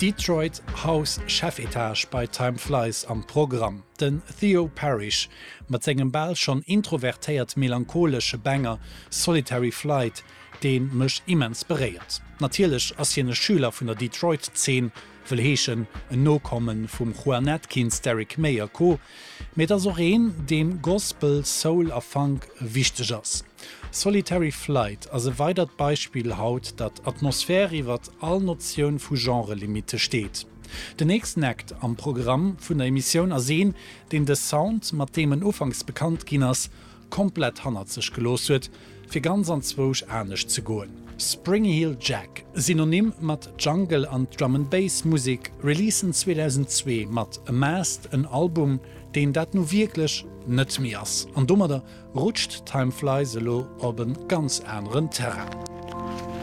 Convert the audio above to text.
Detroit House Chefetage bei Time Flies am Programm, den Theo Parrish mat sengem bal schonn introvertéiert melancholesche Banger Solitary Flight, dee mech immens beréiert. Natierlech ass hien e Schüler vun der Detroit-Zeen, wëll heeschen en Nokomme vum Juan Atkins, Derrick May a Co. Mee et ass och een, deem Gospel, Soul a Funk wichteg ass. Solitary Flight ass e weidert Beispill haut, datt Atmosphär iwwert all Notioun vu Genre-Limitte steet. Den nächsten Act am Programm vun der Emissioun ass een, deen de Sound, mat deem en ufanks bekannt ginn ass, komplett hannert sech gelooss huet, fir ganz anzwousch anescht ze goen. Spring Heel Jack, Synonym mat Jungle an Drum and Bass Musek, releasen 2002 mat Amassed en Album, deen dat nu wierklech net méi ass. An domadder rutscht Time Flies elo op en ganz aneren Terrain.